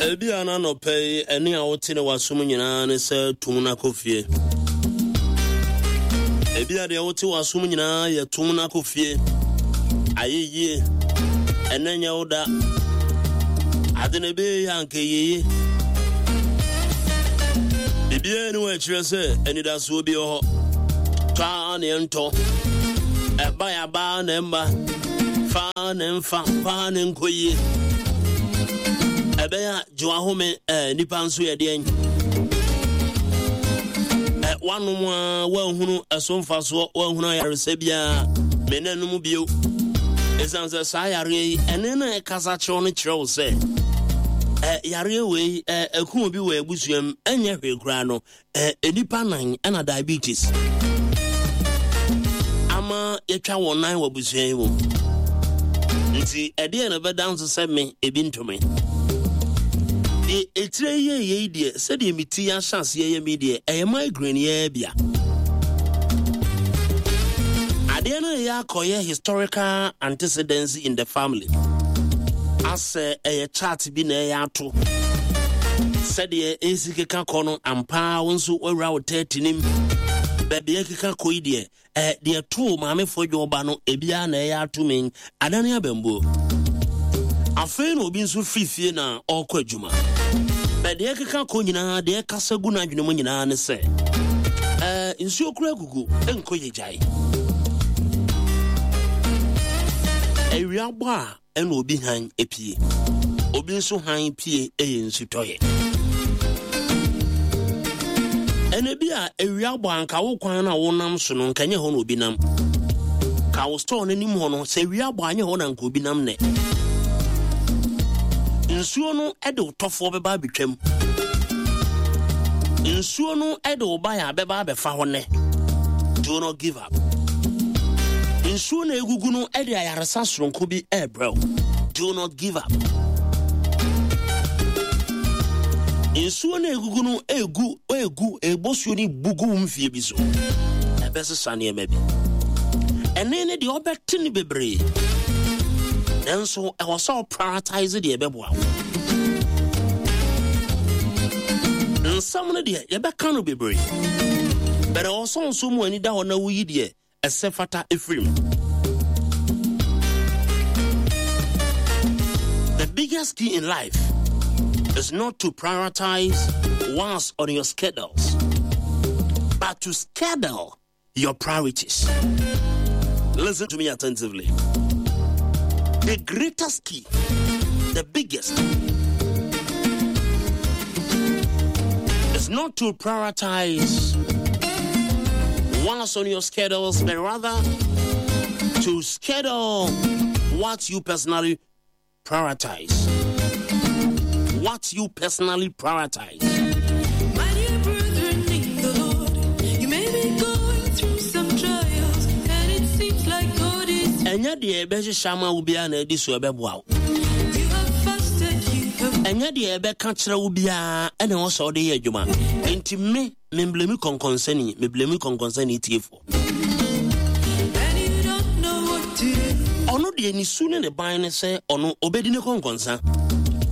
Ebia na anɔpa yi ɛne a wote ne w'asom nyinaa ne sɛ tum no akɔ fie. Ebia deɛ wote w'asom nyinaa yɛ tum no akɔ fie. Ayɛ yie. Ɛnɛ nyɛ wo da. Ade na ɛbɛyɛ yɛ anka yeye. Biribiara ni wɔ ɛkyerɛ sɛ anidasoɔ bi wɔ hɔ. Tɔ a na ɛntɔ. Ɛba yɛ aba na ɛmma. Fa na ɛmfa. Kɔ a na ɛnkɔ yie. Ɛbɛyɛ a gye w'ahome ɛɛ nipa nso yɛ deɛn. Ɛ wanom a woanhunu ɛso mfasoɔ woanhunu ayaresa biara me na nom bio. Ɛsiane sɛ saa yareɛ yi ɛne na ɛkasa kyerɛw no kyerɛ wo sɛ ɛ yareɛ wei ɛ ɛku obi wɔ abusua mu ɛnyɛ hwee koraa no Eh, nnipa nan ɛna diabetes ama yɛtwa wɔn nan wɔ abusua yi mu. Nti ɛdeɛ na ɛbɛda nso sɛ me ebi ntome. Deɛ etire yɛ yei deɛ sɛdeɛ me ti ahyɛ aseɛ yɛ mi deɛ ɛyɛ migraine yɛ bia. Adeɛ no yɛ akɔyɛ historical antecedents in the family. Asɛ ɛyɛ chart bi na ɛyɛ ato. Sɛdeɛ ɛsi keka kɔ no ampa wo nso woawura wo tɛɛte nim. Baabi ɛkeka kɔ yi deɛ ɛ deɛ too maamefoɔ dwɔba no ebiara na ɛyɛ ato me adane abambuo. Afei na obi nso firi fie na ɔrekɔ adwuma. Bɛ deɛ ɛkeka kɔ nyinaa deɛ ɛkasa gu n'adwene mu nyinaa ne sɛ ɛɛ nsuo kura gugu nkɔ yɛ gyae. Awia bɔ a ɛna obi hann pie. Obi nso hann pie yɛ nsutɔeɛ. Ɛna bi a awia bɔ anka wo kwan no a wonam so no nka nyɛ hɔ na obi nam. Ka wo store no anim hɔ no sɛ awia bɔ anyɛ hɔ na nka obi nam nɛ. Nsuo no de wo tɔfoɔ bɛba abɛtwam. Nsuo no de wo baeɛ a bɛba abɛfa hɔ nɛ. Do not give up. Nsuo na egugu no de ayaresa soronko bi rebrɛ wo. Do not give up. Nsuo na egugu no egu egu ebɔ suo no bugu wo mfie bi so. Ɛbɛsesa nneɛma bi. Ɛne ne deɛ ɔbɛte no bebree. Nanso ɛwɔ sɛ ɔprioritize deɛ ɛbɛboa wo. Nsɛm no deɛ yɛbɛka no bebree. Bɛrɛ ɛwɔ sɛ nso mu ani da hɔ na woyi deɛ ɛsɛ fata ɛfiri mu. The biggest key in life is not to prioritize once on your schedules, but to schedule your priorities. Listen to me attentively. The greatest key, the biggest, is not to prioritize once on your schedules, but rather to schedule what you personally prioritize. What you personally prioritize. My dear brethren in the Lord, you may be going through some trials, and it seems like God is. Ɛnyɛ deɛ ɛbɛhyehyɛ ama wo biara na ɛdi so ɛbɛboa wo. You have fasted, you have. Ɛnyɛ deɛ ɛbɛka kyerɛ wo biara ɛna ɛwɔ sɛ ɔde yɛ adwuma. Nti me, memblemi kɔnkɔnsani, meblemi kɔnkɔnsani tiefoɔ. Ɔno deɛ ne su ne ne ban ne sɛ ɔno ɔbɛdi ne kɔnkɔnsa.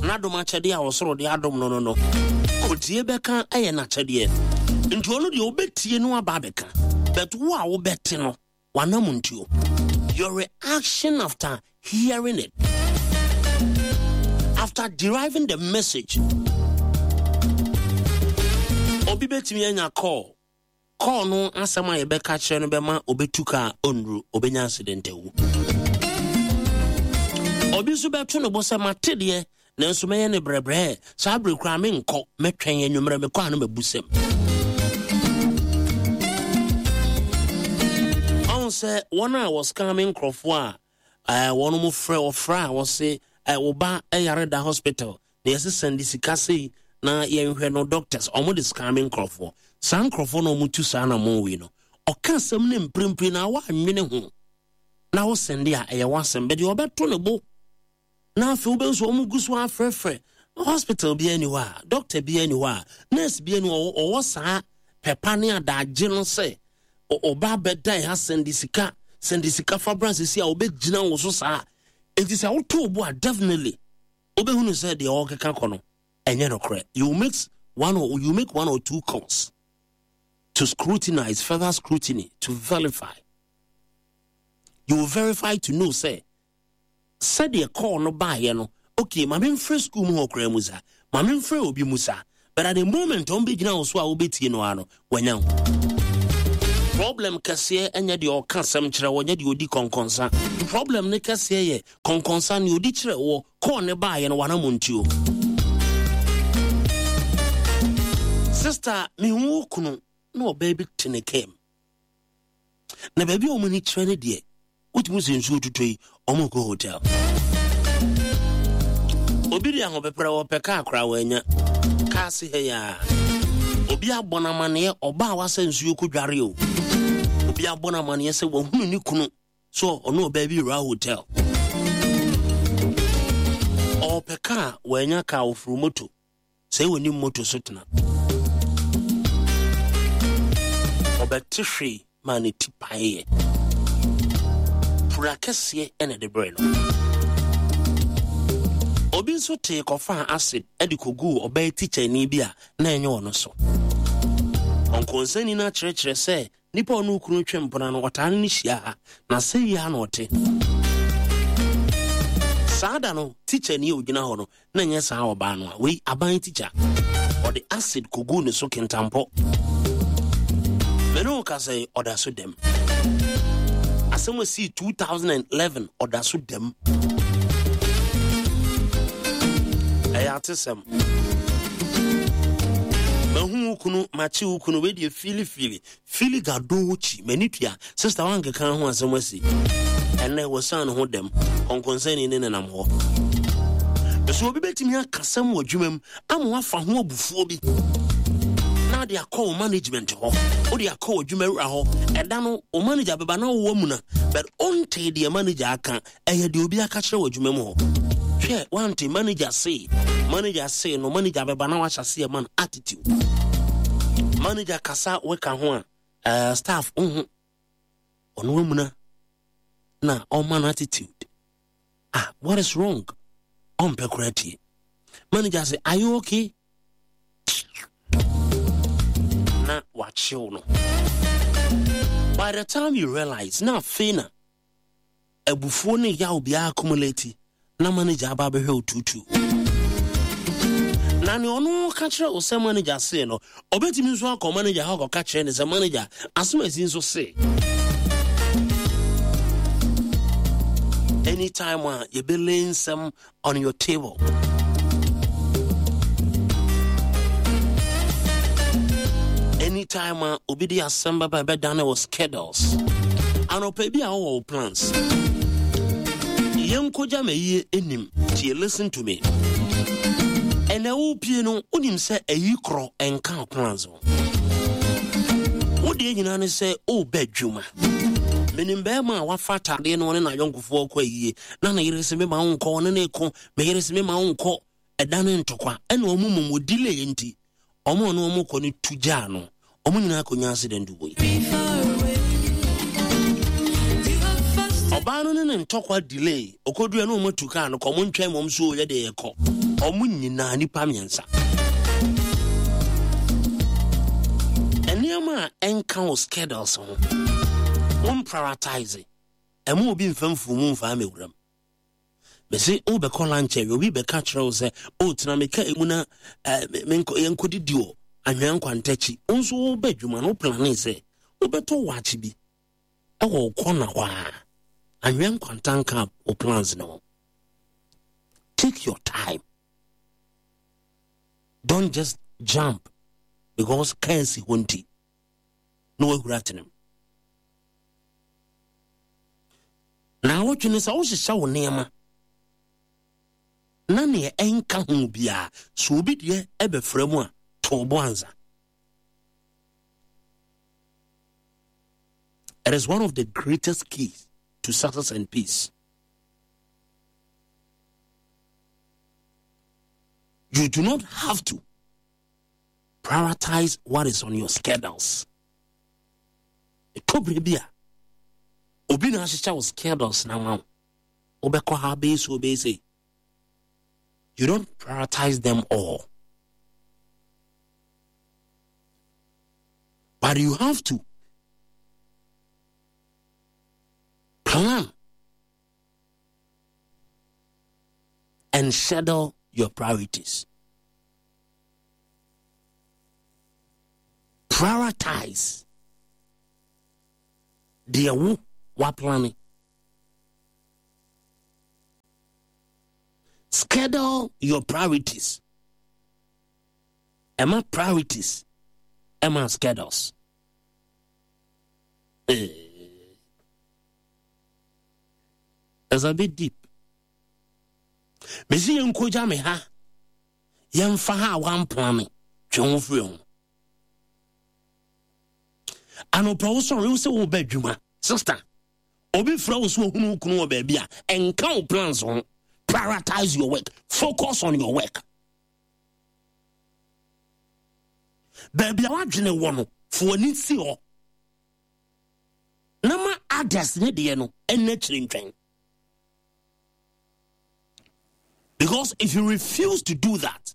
N'adom akyɛdeɛ a ɔsoro de adom no no no, kɔtie bɛka ɛyɛ n'akyɛdeɛ. Nti ɔno deɛ ɔbɛtie no aba abɛka. But wo a wobɛte no, w'anam ntuo. Your reaction after hearing it, after deriving the message, obi bɛtumi anya call Call no asɛm a yɛbɛka kyerɛ no bɛma obetu kaa onnuru, obenya accident awu. Obi nso bɛto ne bo sɛ mate deɛ nanso mɛyɛ ne brɛbrɛ saa bere koraa menkɔ mɛtwɛn anwummerɛ mekɔ a no mabu sɛm. Ɔho sɛ wɔn a wɔscan me nkurɔfoɔ a wɔn mo frɛ wɔfrɛ a wɔse wo ba yare da hospital Na yɛse sɛnde sika sei na yɛnhwɛ no doctors ɔmo de sika me nkorɔfoɔ saa nkorɔfoɔ na ɔmo tu saa anamɔn wei no ɔka asɛm no mprempren na woanwene ho na wo sɛnde a ɛyɛ w'asɛm bɛde ɔbɛto ne bo na afei wobɛhu sɛ ɔmo gu so afrɛfrɛ hospital biara ni hɔ a doctor biara ni hɔ a nurse biara ni hɔ ɔwɔ saa pɛpa ne adagye no sɛ ɔba bɛda ha sɛnde sika sɛnde sika fa bra sisi a ɔbɛgyina wo so saa nti sɛ woto bo a definitely wobɛhunu sɛ deɛ ɔrekeka kɔ no Ɛnyɛ nokorɛ. You make one or you make one or two calls to scrutinize, further scrutiny, to verify. You will verify to know sɛ sɛdeɛ call no baeɛ no, okay, ma memfrɛ school mu hɔ koraa mu sa, ma memfrɛ obi mu sa. But at the moment wɔn bɛgyina wo so a wobɛtie no ara no, wanya wo. Problem kɛseɛ ɛnyɛ deɛ ɔka asɛm kyerɛ wɔ, nyɛ deɛ ɔdi kɔnkɔnsa. Problem ne kɛseɛ yɛ kɔnkɔnsa ne ɔdi kyerɛ wɔ, kɔɔ ne baeɛ no wanamontuo. Sister, mehu wo kunu na ɔbaa bi te ne kaa mu. Na baabi a wɔn ani kyerɛ no deɛ, wotumi sɛ nsuo tutɔ yi, wɔn kɔ hotel. Obi de ahopeprɛ wɔpɛ kaa koraa wɔanya. Kaa se ha yi a. Obi abɔ no amaneɛ ɔbaa a wasa nsuo kɔ dware o. Obi abɔ no amaneɛ sɛ wahunu ne kunu so ɔno ɔbaa bi wura hotel. Ɔpɛ kaa wɔanya kaa ofuru moto. Sɛ wɔnim moto so tena. Ɔbɛte hwee maa ne ti paeeɛ. Pura kɛseɛ na ɛde brɛ no. Obi nso tee kɔfaa acid de kɔguu ɔbaa tikyani bi a na ɛnyɛ ɔno so. Ɔnkɔnsani no akyerɛkyerɛ sɛ Nipa a ɔne wo kunu retwe mpena no, ɔtaa ne no hyia ha, na sei ara na ɔte. Saa da no, tikyani a ɔgyina hɔ no, na ɛnyɛ saa ɔbaa no a, wei aban tikya. Ɔde acid kɔguu ne so kentampɔ. Me ne wo kasa yi, ɔda so dɛm. Asɛm a sii 2011, ɔda so dɛm. Ɛyɛ atesɛm. Mahu wo kunu, makye wo kunu, wei deɛ fili fili fili gadochi, m'ani tua. Sista wankeka ho asɛm asi. Ɛnɛ wɔsan ne ho dɛm, kɔnkɔnsani ne nenam hɔ. Nso obi bɛtumi akasɛm wɔ adwuma mu ama wafa ho abufuo bi na ade akɔ wo management hɔ, wode akɔ wɔ adwuma wura hɔ. Ɛda no wo manager bɛba na wowɔ muna, but ɔntee deɛ manager aka. Ɛyɛ deɛ obi aka kyerɛ wɔ adwuma mu hɔ. Hwɛ, wante manager se, manager se no, manager bɛba na wahyɛ aseɛ ma no attitude. Manager kasa weka ho a, staff nhu. Ɔno amuna na ɔma no attitude. Ah, what is wrong? Ɔmpɛ koraa tie. Manager se, are you okay? Na wakyew no. By the time you realize, na afei na abufuo ne yaw biara accumulate na manager aba abɛhwɛ wo tuutuu. Na nea ɔno ka kyerɛ wo sɛ manager see no, ɔbɛtumi nso akɔ manager hɔ akɔka kyerɛ ne sɛ manager asɛm asi nso see. Anytime a yɛbɛlay nsɛm on your table. Anytime a obi de asɛm bɛba ɛbɛdane wɔ schedules. Anɔpa bi a wowɔ wo plans. Yɛnkɔgya ma yie anim. Tie, listen to me. Ɛnɛ wopie no, wonim sɛ ayi korɔ ɛnka wo plans ho. Wo deɛ nyinaa ne sɛ wobɛ adwuma. Menim bɛrima a wafa ataadeɛ no ɔne n'ayɔnkofoɔ kɔ ayie na ne yere se mema wo nkɔ, ɔne ne ko, me yere se mema wo nkɔ, ɛda ne ntɔkwa. Ɛna ɔmo mmom wɔ delay nti, ɔmo ɔne ɔmo kɔ no tu gyaa no, ɔmo nyinaa kɔnya accident wɔ yi. Ɔbaa no ne ne ntɔkwa delay, ɔkɔdua ne ɔmo atu kaa no kɔ, ɔmo ntwɛn ma ɔmo so yɛ deɛ yɛkɔ. Ɔmo nyinaa nipa mmiɛnsa. Nneɛma a ɛnka wo schedules ho, wo prioritize. Ɛma obi mfa mfumu mfa mmɛwura mu. Mese wobɛkɔ lunch awie, obi bɛka kyerɛ wo sɛ, o tena me kaa mu na eh, yɛnkɔdidi wɔ anwea nkwantakyi. Wo nso woba adwuma no, woplane sɛ wobɛtɔ wakye bi ɛwɔ wo kɔna hɔ a, anwea nkwanta nka wo plans no ho. Take your time. Don't just jump because kaa si hɔ nti na wahura atenam. Naawɔtwe no sɛ wohyehyɛ wo nneɛma na neɛ ɛnka ho biara sɛ obi deɛ ɛbɛfra mu a to bo ansa. It is one of the greatest keys to success and peace. You do not have to prioritize what is on your schedules. Ɛtɔ berɛ bi a, obi na ahyehyɛ wo schedules na ma wo. Wobɛkɔ ha bɛyɛ so, wobɛyɛ sei. You don't prioritize them all. But you have to plan and schedule your priorities. Prioritize deɛ wo waplane. Schedule your priorities. Ɛma priorities ɛma schedules. Eh. It's a bit deep. Mesi yɛn nkogya me ha. Yɛmfa ha a wamplane twe ho firi ho. Anɔpa wo sɔre wo sɛ woba adwuma. Sister, obi frɛ wo sɛ ohunu wo kunu wɔ baabi a, ɛnka wo plans ho. Prioritize your work. Focus on your work. Baabi a wadwene wɔ no, fo w'ani si hɔ. Na ma others ne deɛ no ɛnna akyiri ntwɛn. Because if you refuse to do that,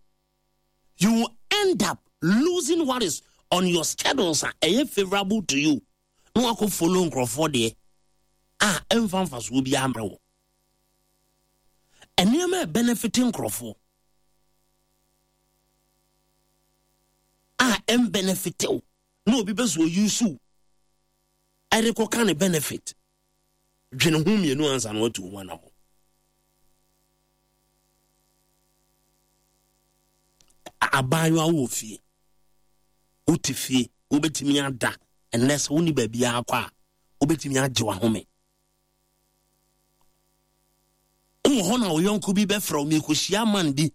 you will end up losing what is on your schedules a ɛyɛ favorable to you na wakɔ follow nkurɔfoɔ deɛ a ɛmfa mfasoɔ biara mmerɛ wɔ nneɛma a benefit nkurɔfoɔ a ɛmbenefit wo na obi bɛ so ɔyusu ɛde kɔka ne benefit. Dwene ho mmienu ansa na watu ho anammɔn. Abaayewa wɔ fie, wote fie, wobɛtumi ada ɛnnɛ sɛ wonni baabiara kɔ a, wobɛtumi agye w'ahome. Wowɔ hɔ na wo yɔnko bi bɛfrɛ wo, merekɔhyia man bi.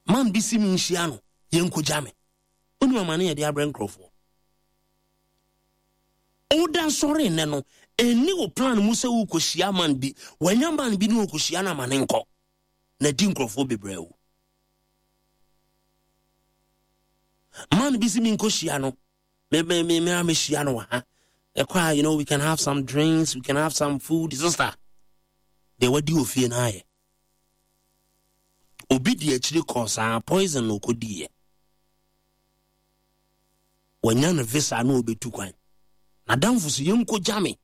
Man bi si menhyia no, yɛnkɔgya me. Wonim amane yɛde abrɛ nkurɔfoɔ. Woda sɔre nnɛ no, ɛnni wo plan mu sɛ worekɔhyia man bi. Wanya man bi ne ɔkɔhyia no ama ne nkɔ. Na di nkurɔfoɔ bebree awu. Man bi si menkɔhyia no. Me me me me mehyia no wɔ ha. Ɛkɔ a, you know, we can have some drinks, we can have some food. Sister, deɛ wadi wɔ fie no ayɛ. Obi di akyiri kɔɔ saa poison na ɔkɔdiiɛ. Wanya no visa na ɔbɛtu kwan. N'adamfo so yɛnkɔgya me.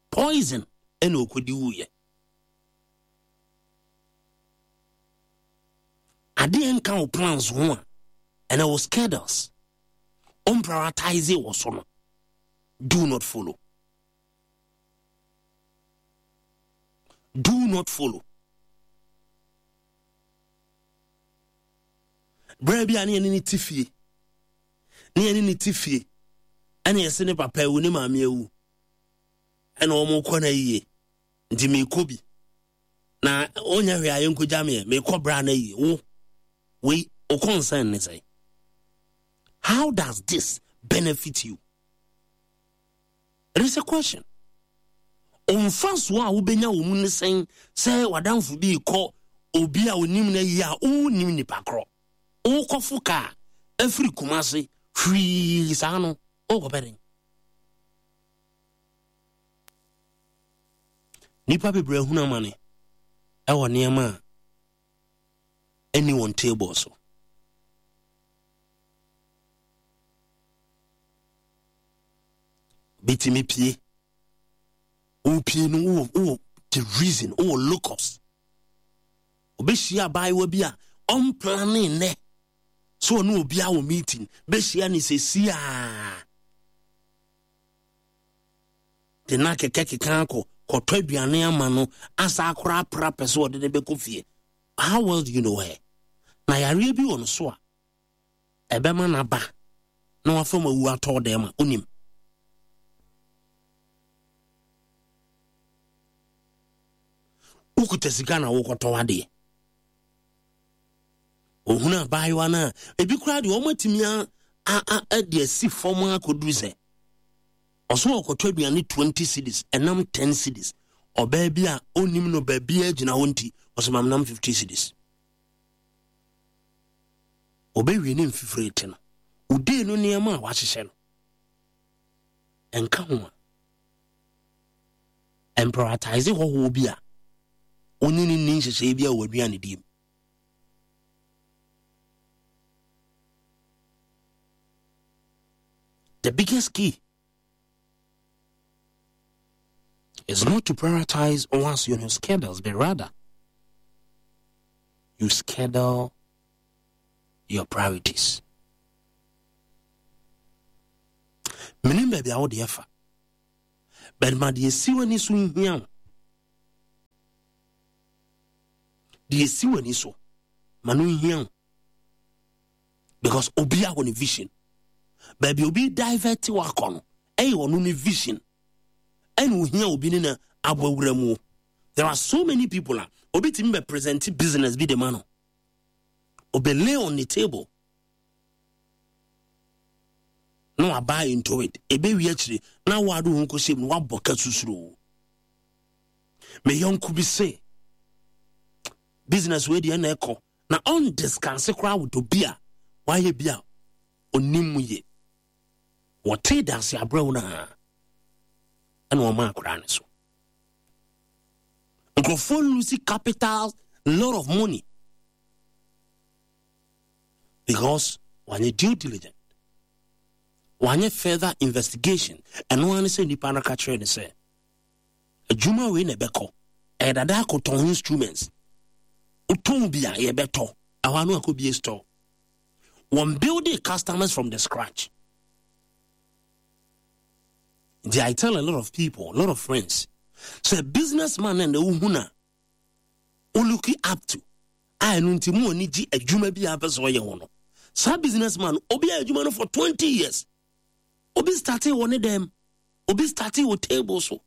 Poison ɛna ɔkɔdi wuiɛ. Adeɛ nka wo plans ho a ɛna wo schedules ɔmprioritise wɔ so no do not follow. Do not follow. Berɛ bi a ne yɛne ne te fie ne yɛne ne te fie ɛna yɛse ne papa awu ne maame awu ɛna wɔn kɔ no ayie nti mekɔ bi na ɔnyɛ hwee a yɛnkɔgya meɛ mekɔ bra no ayie wo wei wo concern ne sɛ how does this benefit you? It is a question. Mfasoɔ a wobɛnya wɔ mu ne sɛn sɛ w'adamfo bi rekɔ obi a onim no ayi a wonnim nipa korɔ. Wokɔfo kaa afiri Kumase hwii saa no wokɔpɛ den. Nnipa bebree ahunu amane ɛwɔ nneɛma a ɛnni wɔn table so. Bitumi pie. Wopie no wowɔ wowɔ the reason wowɔ locus. Obɛhyia abaayewa bi a ɔmplane nnɛ sɛ ɔne obi awɔ meeting bɛhyia ne sɛsiaa de na kɛkɛ keka akɔ kɔtɔ aduane ama no asa akora apra pɛ sɛ ɔde ne bɛkɔ fie. How well do you know her? Na yareɛ bi wɔ no so a ɛbɛma no aba na wafa mu awu atɔ dɛm a onim. Wokuta sika na wokɔtɔ adeɛ. Ohunu abaayewa no a ebi koraa deɛ wɔn atumi a a a de asi fam akɔduru sɛ ɔso ɔkɔtɔ aduane 20 cedis ɛnam 10 cedis ɔbaa bi a onim no baabi a gyina hɔ nti ɔsɛ mam nam 50 cedis. Ɔbɛwie ne mfifire te no, odii no nneɛma a wahyehyɛ no, ɛnka ho a, ɛmprioritise hɔhoɔ bi a ɔne ne nni nhyehyɛeɛ bi a wɔ aduane die mu. The biggest key is not to prioritize once on your schedules, but rather you schedule your priorities. Menim baabi a wode afa, but ma deɛ esi w'ani so nhia wo. Deɛ esi w'ani so ma no nhia wo. Because obi a wɔ ne vision. Baabi obi divert wakɔ no, ɛyɛ ɔno ne vision. Ɛna ohia obi ne na abɔ awura mu. There are so many people a obi tumi bɛ present business bi de ma no. Obe lay on the table. Na waba into it. Ebe wi akyire na wado ho kɔhyɛ mu na wabɔ ka susuro. Me yɔnko bi se business wei deɛ na ɛkɔ na ɔndiskanse koraa with obi a wayɛ bi a ɔnim mu yie. Wɔtee danse abrɛw no a ɛna ɔma akwadaa no so. Nkurɔfoɔ lose capital, lot of money because wanyɛ due diligent, wanyɛ further investigation. Ɛno ara ne sɛ nipa no ka kyerɛ ne sɛ adwuma wei na ɛbɛkɔ, ɛyɛ dada akɔtɔn instruments, wotɔn bi a yɛbɛtɔ, ɛhɔ ano akɔbie store. Wɔn building customers from the scratch. Nti I tell a lot of people, a lot of friends, sɛ businessman na na wohu na wo look up to a ɛno nti mu ani gye adwuma bi a apɛ sɛ ɔyɛ ho no. Saa businessman obi ayɛ adwuma no for 20 years. Obi startee wɔ ne dɛm, obi startee wɔ table so.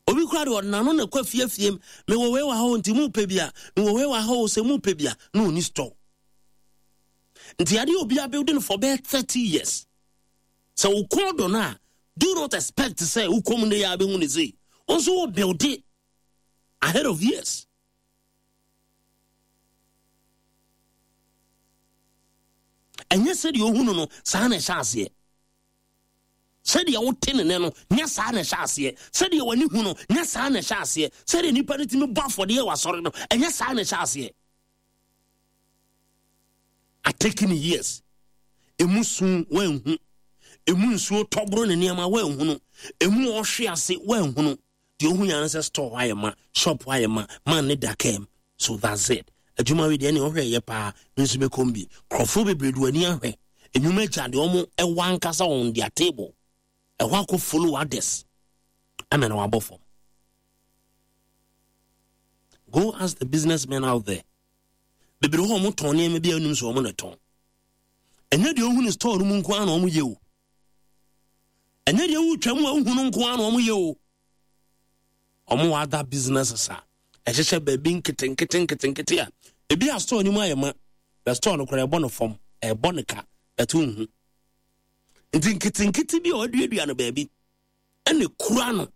Obi kura de ɔnano na ɛkɔ afiefie mu. Mewɔ wei wɔ ha o nti mu pɛ bi a, mewɔ wei wɔ ha o sɛ mu pɛ bi a, na ɔni store. Nti adeɛ obi abuilding for bɛyɛ 30 years. Sɛ wo kɔn dɔ no a, do not expect sɛ wokɔ mu ne yɛ abɛhu ne sei. Wo nso wo build it ahead of years. Ɛnyɛ sɛdeɛ ohunu no saa na ɛhyɛ aseɛ. Sɛdeɛ wote ne nne no, nyɛ saa na ɛhyɛ aseɛ. Sɛdeɛ w'ani hu no, nyɛ saa na ɛhyɛ aseɛ. Sɛdeɛ nnipa no tumi bɔ afɔdeɛ wɔ asɔre no, ɛnyɛ saa na ɛhyɛ aseɛ. Ataking years. Emu su wanhu. Emu nsuo tɔboro ne nneɛma wanhunu. Emu ɔhwe ase wanhunu. Deɛ ohu yɛn sɛ store hɔ ayɛ ma, shop hɔ ayɛ ma, man ne da kam. So that's it. Adwuma wei deɛ ɛne ɔhwɛ yɛ paa, me nso mɛkɔm bi. Nkurɔfoɔ bebree de wɔn ani ahwɛ. Nnwuma agya deɛ wɔn ɛwɔ ankasa on their table. Ɛhɔ akɔ follow others. Ɛmɛ na wabɔ fam. Go ask the businessmen out there. Bebree hɔ wɔn tɔn nneɛma bi a ɛnum so wɔn na tɔn. Ɛnyɛ deɛ ohun store no mu nko ara na wɔn yɛ o. Ɛnyɛ deɛ wotwa mu a wohu no nko ara na wɔn yɛ o. Wɔn wɔ other businesses a ɛhyehyɛ baabi nketenkete nketenkete a ebi a store no mu ayɛ ma na store no koraa ɛbɔ no fam ɛbɔ no ka ɛto nhu. Nti nketenkete bi a wɔaduadua no baabi ɛna kura no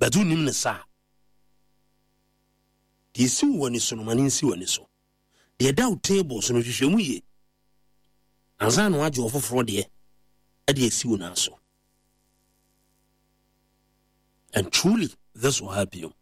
bɛto nim ne saa. Deɛ esi wɔ ani so no ma ne nsi wɔ ani so. Deɛ ɛda wo table so no hwehwɛ mu yie ansa na wagye ɔfoforɔ deɛ ɛde asi wo nan so. And truly this will help you.